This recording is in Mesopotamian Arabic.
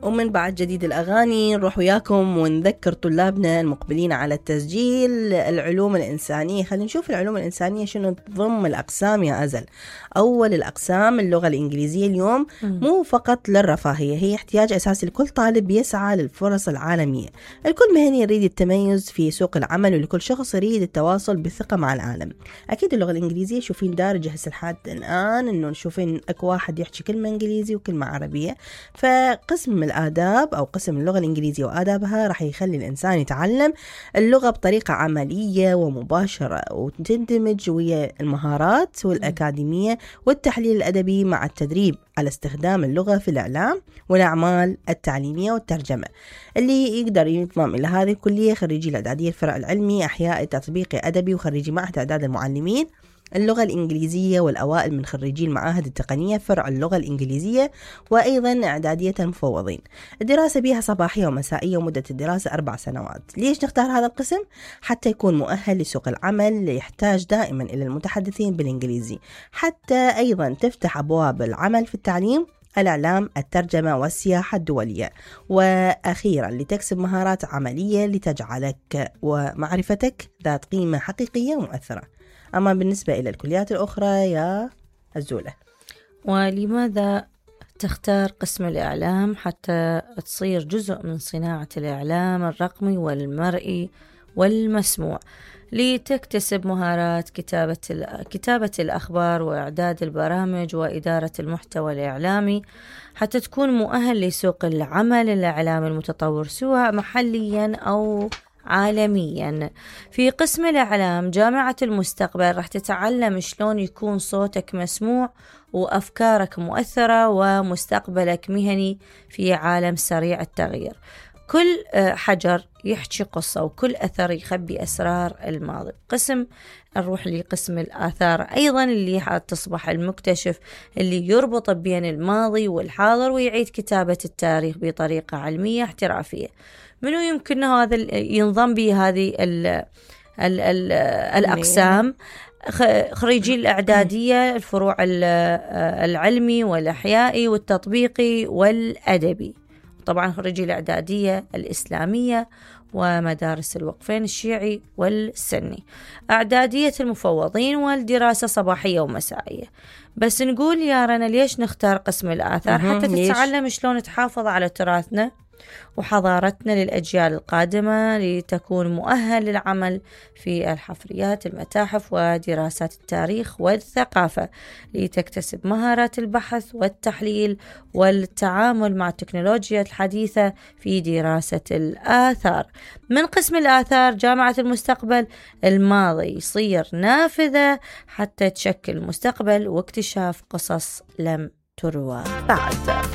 ومن بعد جديد الأغاني نروح وياكم ونذكر طلابنا المقبلين على التسجيل العلوم الإنسانية. خلينا نشوف العلوم الإنسانية شنو تضم الأقسام يا أزل. أول الأقسام اللغة الإنجليزية اليوم مو فقط للرفاهية، هي احتياج أساسي لكل طالب يسعى للفرص العالمية. الكل مهني يريد التميز في سوق العمل، ولكل شخص يريد التواصل بثقة مع العالم. أكيد اللغة الإنجليزية شوفين دارجة هسه لحد الآن إنه نشوفين أكو واحد يحكي كلمة إنجليزي وكلمة عربية. فقسم الآداب أو قسم اللغة الإنجليزية وآدابها راح يخلي الإنسان يتعلم اللغة بطريقة عملية ومباشرة، وتندمج ويا المهارات والأكاديمية والتحليل الأدبي مع التدريب على استخدام اللغة في الإعلام والأعمال التعليمية والترجمة. اللي يقدر ينضم إلى هذه الكلية خريجي الإعدادية الفرع العلمي أحياء تطبيقي أدبي وخريجي معهد إعداد المعلمين اللغة الإنجليزية، والأوائل من خريجي المعاهد التقنية فرع اللغة الإنجليزية، وأيضا إعدادية المفوضين. الدراسة بها صباحية ومسائية، ومدة الدراسة 4 سنوات. ليش نختار هذا القسم؟ حتى يكون مؤهل لسوق العمل، يحتاج دائما إلى المتحدثين بالإنجليزي. حتى أيضا تفتح أبواب العمل في التعليم، الإعلام، الترجمة والسياحة الدولية. وأخيرا لتكسب مهارات عملية لتجعلك ومعرفتك ذات قيمة حقيقية ومؤثرة. أما بالنسبة إلى الكليات الأخرى يا الزولة، ولماذا تختار قسم الإعلام حتى تصير جزء من صناعة الإعلام الرقمي والمرئي والمسموع، لتكتسب مهارات كتابة الأخبار وإعداد البرامج وإدارة المحتوى الإعلامي، حتى تكون مؤهل لسوق العمل الإعلامي المتطور سواء محليا أو عالميا. في قسم الإعلام جامعة المستقبل راح تتعلم شلون يكون صوتك مسموع وأفكارك مؤثرة ومستقبلك مهني في عالم سريع التغيير. كل حجر يحكي قصة، وكل أثر يخبي أسرار الماضي. نروح لقسم الآثار أيضا، اللي تصبح المكتشف اللي يربط بين الماضي والحاضر ويعيد كتابة التاريخ بطريقة علمية احترافية. منو يمكن هذا ينضم به هذه الأقسام؟ خريجي الإعدادية الفروع العلمي والأحيائي والتطبيقي والأدبي، طبعا خريجي الإعدادية الإسلامية ومدارس الوقفين الشيعي والسني. إعدادية المفوضين والدراسة صباحية ومسائية. بس نقول يا رنا ليش نختار قسم الآثار؟ حتى تتعلم شلون تحافظ على تراثنا وحضارتنا للأجيال القادمة، لتكون مؤهل للعمل في الحفريات، المتاحف ودراسات التاريخ والثقافة، لتكتسب مهارات البحث والتحليل والتعامل مع التكنولوجيا الحديثة في دراسة الآثار. من قسم الآثار جامعة المستقبل الماضي يصير نافذة حتى تشكل مستقبل واكتشاف قصص لم تروى بعد.